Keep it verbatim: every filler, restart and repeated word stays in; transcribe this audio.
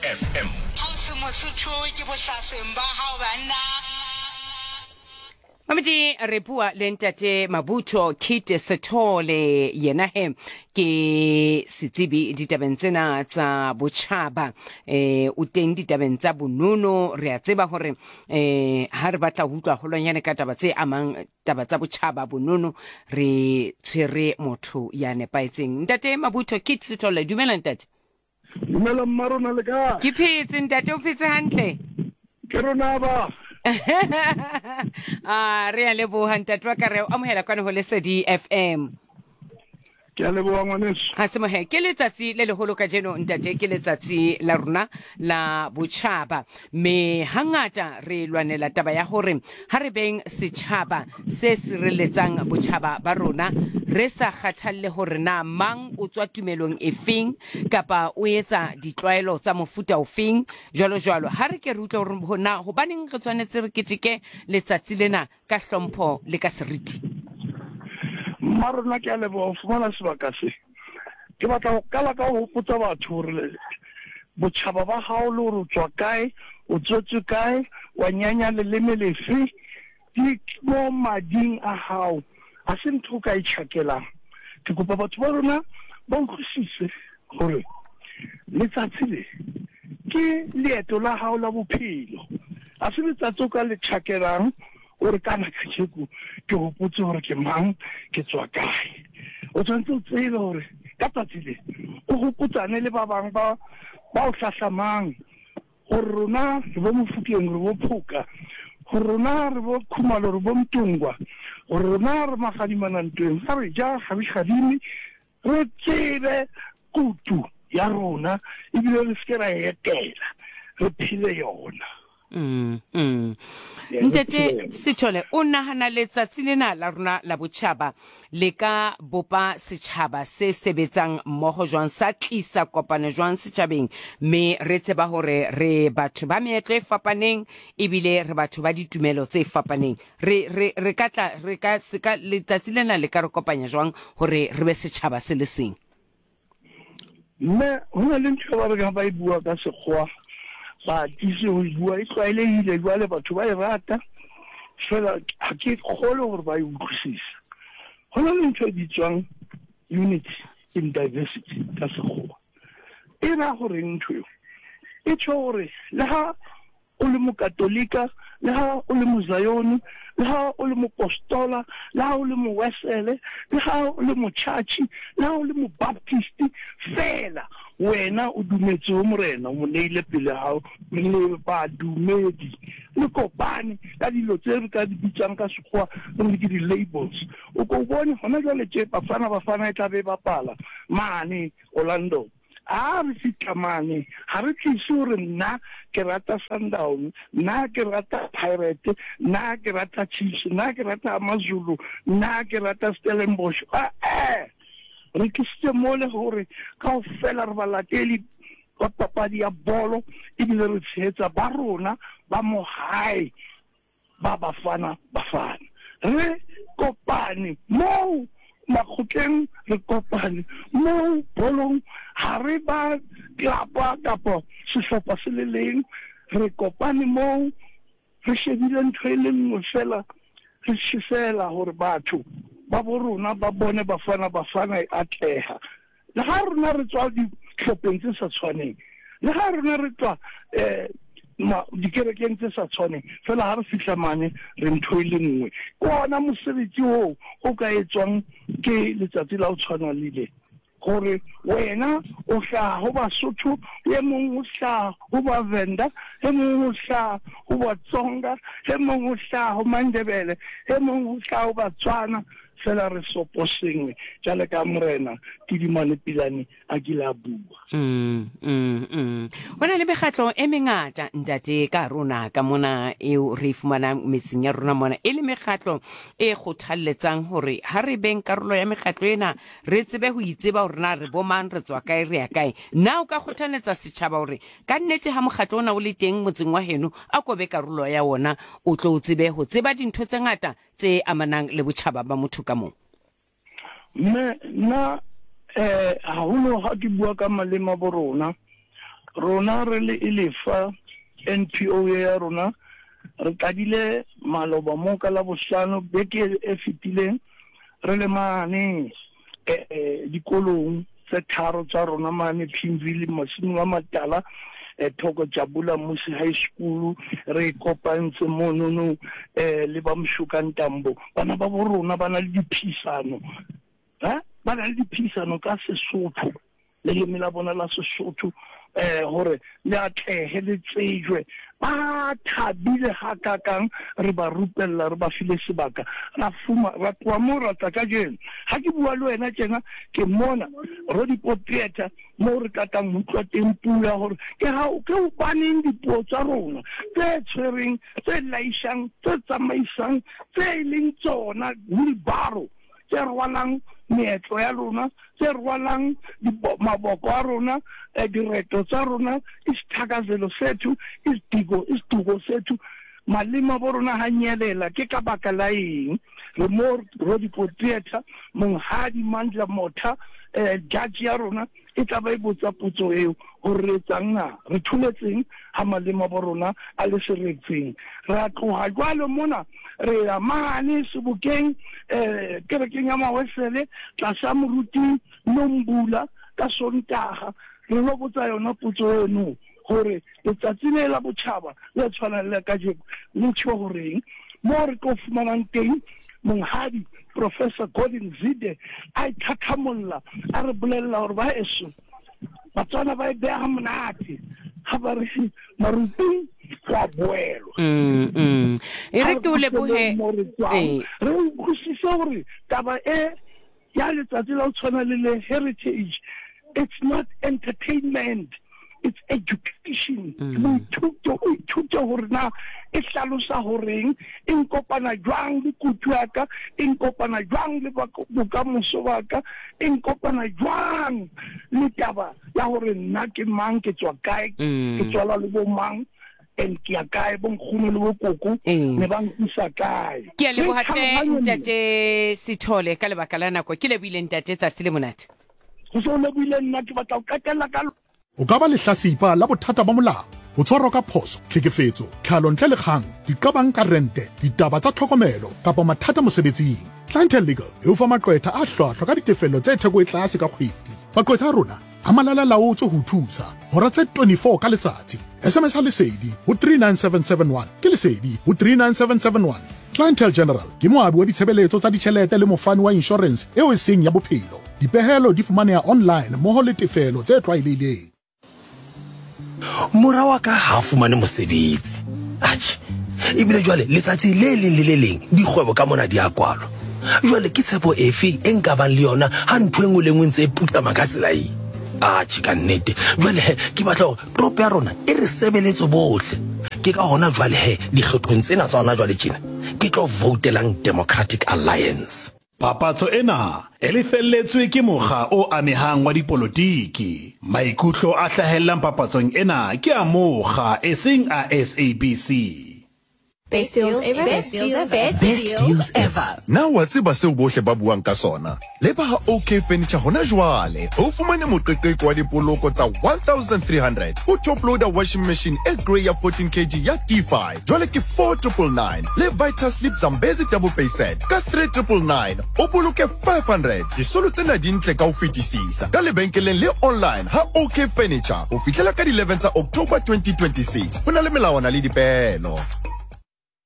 F M. Ha o se Mosotho ke bohlasweng ba hao banna. Mamedi, re bua le ntate Mabutho Kit Sethole, yena he ke setsebi ditabeng tsena tsa botjhaba, eh o teng ditabeng tsa bonono. Re a tseba hore eh ha re batla ho utlwa holwanyane ka taba tse amang taba tsa botjhaba, bonono, re tshwere motho ya nepahetseng. Ntate Mabutho Kit Sethole, dumela ntate. Dumela mma rona, le kae? Ke phetse ntate, o phetse hantle? Ke rona ba. A re a leboha ntate wa ka, re o amohela kwana ho Lesedi F M. Ke a leboha ngwaneso. Ha se mohe, ke letsatsi le leholo kajeno ntate, ke letsatsi la rona la botjhaba, mme hangata re lwanela taba ya hore ha re beng setjhaba se sireletsang botjhaba ba rona, re sa kgathalle hore na mang o tswa tumelong efeng kapa o etsa ditlwaelo tsa mofuta ofeng, jwalo jwalo. Ha re ke re utlwe hore na hobaneng re tshwanetse re keteke letsatsi lena ka hlompho le ka seriti. Mma rona, ke a leboha ho fumana sebaka se. Ke batla ho qala ka ho hopotsa batho hore botjhaba ba hao, le hore o tswa kae, o tswetswe kae, wa nyanya leleme lefe, di mo mading a hao, ha se ntho o ka e tjhakelang. Ke kopa batho ba rona ba utlwisise hore letsatsi le ke leeto la hao la bophelo, ha se letsatsi o ka le tjhakelang o re kana kajeko ke hopotse hore ke mang, ke tswa kae. O tshwanetse o tsebe hore ka tsatsi le o hopotsane le ba bang ba ba o hlahlamang gore rona re bo Mofokeng, re bo Phoka, gore rona re bo Khumalo, re bo Mtungwa, gore rona re magadimana ntweng, ga re ja ga re gadime, re tsebe kutu ya rona ebile re seke ra e etela, re phele yona. Mm, mm. Yeah, re Ntate phele yona. Sethole, o nahana letsatsi lena la rona la botjhaba le ka bopa setjhaba se sebetsang mmoho jwang, sa tlisa kopano jwang setjhabeng, mme re tseba hore re batho ba meetlo e fapaneng ebile re batho ba ditumelo tse fapaneng? Re re re ka tla re ka se ka letsatsi lena le ka re kopanya jwang hore re be setjhaba se le seng? Mme ho na le ntho e ba reng ha ba e bua ka sekgowa, ba atise ho e bua, e tlwaelehile jwale, batho ba e rata fela, ha ke kgole hore ba e utlwisise. Ho na le ntho e bitswang unity in diversity ka sekgowa. E ra horeng ntho eo? E tjho hore le ha o le mokatolika, le ha o le mozayoni, le ha o le mopostola, le ha o le mowesele, le ha o le motjhatjhi, le ha o le mobaptist, fela wena o dumetse ho Morena, o mo neile pele hao, le badumedi le kopane ka dilo tse re ka di bitsang ka sekgowa re re ke di-labels. O ko bone hona jwale tje Bafana Bafana e tla be e bapala mane Orlando. A re fihla mane, ga re tlise gore nna ke rata Sundown, nna ke rata Pirate, nna ke rata Chiefs, nna ke rata Amazulu, nna ke rata Stellenbosch. Ee, re tlisitse mole gore kaofela re balateli ba papadi ya bolo ebile re tshehetsa ba rona ba mo hae ba Bafana Bafana. Re kopane moo makgotleng, re kopane moo bolong, ha re ba klapa kapa sehlopha se le leng, re kopane moo re shebile ntho e le nngwe fela, re tjhesela hore batho ba bo rona ba bone Bafana Bafana e atleha. Le ha rona re tswa dihlopheng tse sa tshwaneng, le ha rona re tswa um dikerekeng tse sa tshwaneng, fela ha re fihla mane re ntho e le nngwe. Ke ona mosebetsi oo o ka etswang ke letsatsi la ho tshwana le le, gore wena o hlaha ho Basotho, e mong o hlaha ho Bavenda, e mong o hlaha ho Batsonga, e mong o hlaha ho Mandebele, e mong o hlaha ho Batswana, fela re sopo sengwe jale ka Morena Tidimane Pilane a kile a bua. Mm, mm, mm. Ho na le mekgatlo e mengata ntate ka rona ka mona eo re e fumanang metseng ya rona mona, e le mekgatlo e kgothalletsang hore ha re beng karolo ya mekgatlo ena, re tsebe ho itseba hore na re bomang, re tswa kae, re ya kae. Na o ka kgothalletsa setjhaba hore ka nnete ha mokgatlo ona o le teng motseng wa heno, a ko be karolo ya wona, o tlo o tsebe ho tseba dintho tse ngata tse amanang le botjhaba ba motho ka mong? Mme nna eh haholo ha ke bua ka maleme a bo rona, Rona re le Ilefa N P O ya rona re qadile maloba mo ka la bohlano beke e fetileng re le mane eh dikolong tse tharo tsa rona mane Pimville Masimo a Matala eh Thoko Jabula Musi High School re kopantse monono eh le ba Mshuka Ntambo bana ba bo rona bana le diphisano ha bana le diphisano ka Sesotho le leme la bona la Sesotho eh hore le atlehe le tsejwe ba thabile ha kakang re ba rupella re ba file sebaka ra fuma ra tloha mo ra tla kajeno ha ke bua le wena tjena ke mona Rodipo Theatre mo re tlatang ho utlwa teng puo ya hore ke ha ke hobaneng dipuo tsa rona tse tshwereng tse laishang tse tsamaisang tse leng tsona wheelbarrow tse rwalang meetlo ya rona tse rwalang maboko a rona direto tsa rona isithakazelo sethu isidigo isiduko sethu malema bo rona ha nyelela ke ka baka la eng re mo Rodipo Theatre monghadi Mandla Motha eh judge ya rona e tla ba e botsa potso eo hore re etsang na re thuletseng ha malema bo rona a le seretseng ra tloha jwalo mona re ya mane sebokeng eh kerekeng ya Mawesele tlasa moruti Nombula ka Sontaga re lo botsa yona potso eno hore letsatsi le la botjhaba le tshwanang le kajeno le tjho horeng mo re tlo fumanang teng monghadi Professor Gordon Zide a ithathamolla a re bolella hore ba eso Batswana ba e beha monate ha ba re maruping go a boelwa mm mm e re ke o lebohe re utlwisise hore taba e ya letsatsi la ho tshwana le le heritage, it's not entertainment, it's education. Boithuto o ithuta hore na e hlalosa horeng e nkopana jwang le kutu ya ka e nkopana jwang le bokamoso ba ka e nkopana jwang le taba ya hore nna ke mang ke tswa kae ke tswala le bo mang and ke ya kae bo nkgono le bo koko ne ba nkisa kae. Ke a leboha hle ntate Sithole ka lebaka la nako ke lebohile ntate tsatsi le monate. Go se o lebohile nna ke batla ho qetella ka o ka ba lehlasipa la bothata ba molao ho tshwarwa ka phoso tlhekefetso tlhalo ntle le kgang diqabang ka rente ditaba tsa tlhokomelo kapa mathata mosebetsing. Clientele Legal e o fa maqwetha a hlwahlwa ka ditefello tse theko e tlase ka kgwedi. Maqwetha a rona a malala laotswe ho thusa hora tse twenty-four ka letsatsi. S M S ha Lesedi ho three nine seven seven one ke Lesedi ho three nine seven seven one. Clientele General ke moabi wa ditshebeletso tsa ditjhelete le mofani wa insurance eo e seng ya bophelo. Dipehelo di fumaneha online mmoho le tefelo tse tlwaelehileng. Mora wa ka ha fumane mosebetsi. Atjhe, ebile jwale letsatsi le leng le le leng dikgwebo ka mona di a kwalwa. Jwale ke tshepo efe e nka bang le yona ha ntho e nngwe le nngwe ntse e putlama ka tsela e? Atjhe ka nnete. Jwale he ke batla hore toropo ya rona e re sebeletse bohle. Ke ka hona jwale he dikgethong tsena tsa hona jwale tjena ke tlo voutelang Democratic Alliance. Papatso ena e lefelletswe ke mokga o amehang wa dipolotiki. Maikutlo a hlahellang papatsong ena ke a mokga eseng a S A B C. Best deals ever. Best deals ever. Best deals ever. Na wa tseba seo bohle ba buang ka sona? Leba ha O K Furniture hona jwale. O fumane moqeqeko wa dipoloko tsa one thousand three hundred. O top loader washing machine e grey ya fourteen kilograms ya T five. Jwale ke four triple nine. Le Vita Sleep Zambezi double pay set ka three triple nine. O boloke five hundred. Disolo tsena di ntle ka ho fetisisa. Ka lebenkeleng le online ha O K Furniture. Ho fihlela ka eleven tsa October twenty twenty-six. Ho na le melawana le dipeelo.